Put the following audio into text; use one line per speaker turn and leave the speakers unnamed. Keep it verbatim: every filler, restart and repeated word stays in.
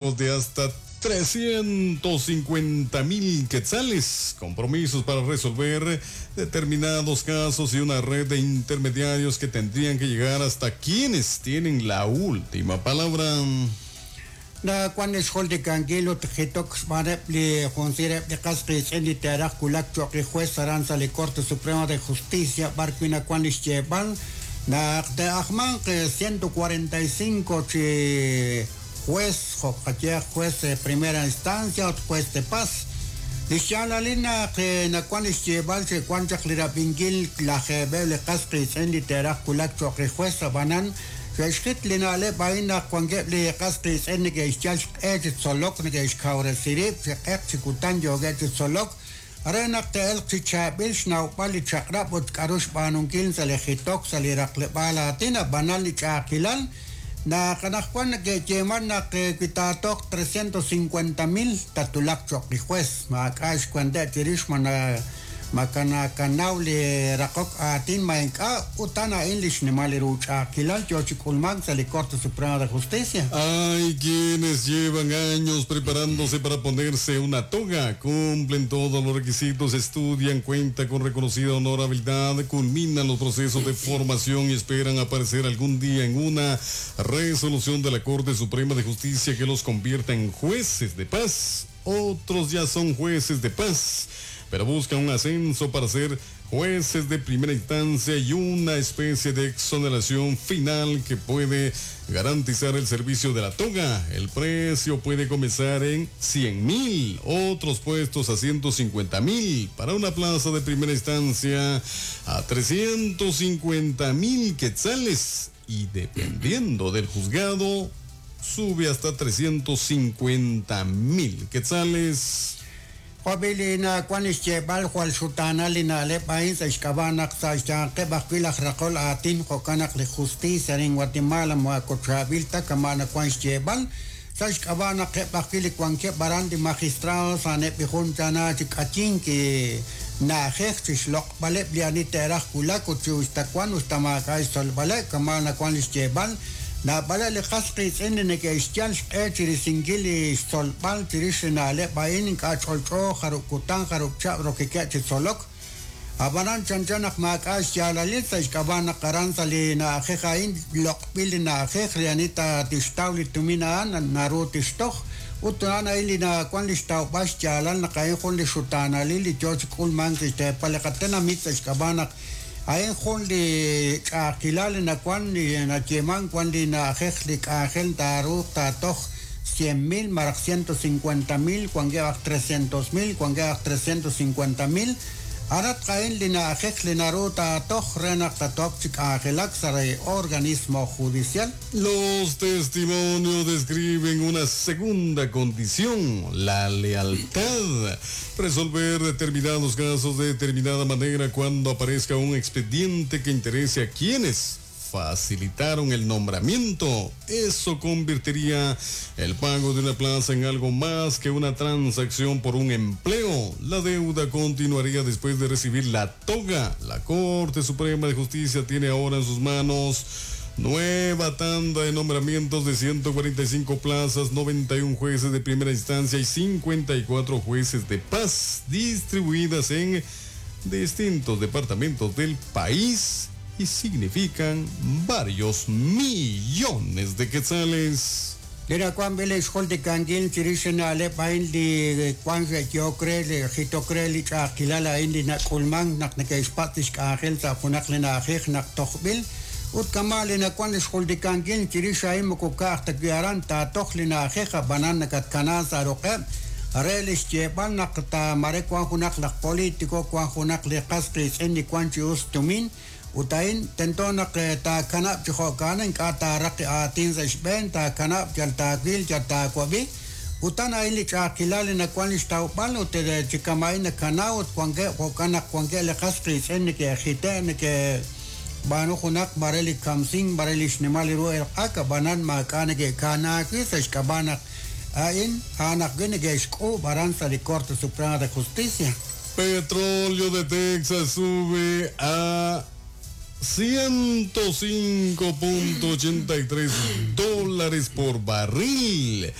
De hasta trescientos cincuenta mil quetzales, compromisos para resolver determinados casos y una red de intermediarios que tendrían que llegar hasta quienes tienen la última palabra.
Na cuando es de canguelo tjitok li de casqui teraj kulak choqi juez aranza le Corte Suprema de Justicia barquina cuando llevan na de ahman que ciento cuarenta y cinco chi juez juez de primera instancia juez de paz Lixalalina que na cuando llevan se cuando lirapingil la jebe le casqui teraj kulak choqi juez banan Xit linale baina cuangue le casqui en que ischal et solok ne iskaure sirip se chikutan yoge solok arena te el chichabil schnaupali chakrap ut karush banunkil se le jitok se le raqlebala tina banal ni chakilal na kanakwan que yeman na que quitatok trescientos cincuenta mil tatulak chok juez makash cuando tirish mana makana kanauli rakok atin mainka utana english nimali rucha kilal yochikulman sali Corte Suprema de Justicia.
Hay quienes llevan años preparándose para ponerse una toga, cumplen todos los requisitos, estudian, cuentan con reconocida honorabilidad, culminan los procesos de formación y esperan aparecer algún día en una resolución de la Corte Suprema de Justicia que los convierta en jueces de paz. Otros ya son jueces de paz, pero buscan un ascenso para ser jueces de primera instancia y una especie de exoneración final que puede garantizar el servicio de la toga. El precio puede comenzar en cien mil, otros puestos a ciento cincuenta mil, para una plaza de primera instancia a trescientos cincuenta mil quetzales y dependiendo del juzgado sube hasta trescientos cincuenta mil quetzales.
Jobilina cuanis lleval jual sutana lina le país escabanak sa que bajuila racol atin jocanak le justicia en Guatemala moacochavilta camana cuanis lleval sa que bajuili cuanque barandi magistrados anepi juntana chicachin que na jexis loc vale blianita era culaco chuistacuan ustamacay sol vale camana cuanis lleval na bala le qasqi tz'in que ischal xq'e chirisinquil xtzolb'al chirix na'leb' a'in k'ach'olch'o jarukutan jarukchab rokique chitzolok abanan chanchanaq maak'a xyalalil sa xk'ab'anaq aran sa li na'ajej a'in loq'b'il li na'ajej rianita tixtaw li tumin a'an naru tixtoj utunan a'in li na'kuan li xtawb'al xyalal naq a'in jun li xutanalil li yo chik'ulman xteepal li qatenamit sa xk'ab'anaq Ain jun li ch'aqilal na kuan li na yeman kuan li na ajej li k'ajel taru tatoj cien mil maraj ciento cincuenta mil kuan geaj trescientos mil kuan geaj trescientos cincuenta mil arat kain li na ajej li naru tatoj renaq tatoj chik'ajelak sare organismo judicial.
Los testimonios describen una segunda condición, la lealtad. Resolver determinados casos de determinada manera cuando aparezca un expediente que interese a quienes facilitaron el nombramiento. Eso convertiría el pago de una plaza en algo más que una transacción por un empleo. La deuda continuaría después de recibir la toga. La Corte Suprema de Justicia tiene ahora en sus manos nueva tanda de nombramientos de ciento cuarenta y cinco plazas, noventa y un jueces de primera instancia y cincuenta y cuatro jueces de paz, distribuidas en distintos departamentos del país y significan varios millones de quetzales.
Lira cuan vele xol de canguil chirixen ale pain li cuan yo cre le jito cre li chaqilala in li nakulman nak ne keispatish kajel ta junak le najej nak tojbil ut kamale na cuan xol de canguil chirixa im ko ka ta kiaran ta toj li najeja banana kat kanasa roqe relis llevan nak ta mare cuan junak la político cuan junak le qasqis en li cuan chius tumin Utain tentona que ta kanap chijokanen ka ta raqi atin sa xben ta kanap yal ta quil yal ta kuabi utan ahí li chaqilal na kuan ixtawb'al ut de chikamay na kanaw ut kuanke jokanak kuanke le qasqi tz'en ke jite ne ke banu junak bareli kamsin bareli xnimal ru el qaka banan makane ke kanaki sa xkabanak ain anak gene ke xk'u baran sa li Corte Suprema de Justicia.
Petróleo de Texas sube a ciento cinco punto ochenta y tres dólares por barril.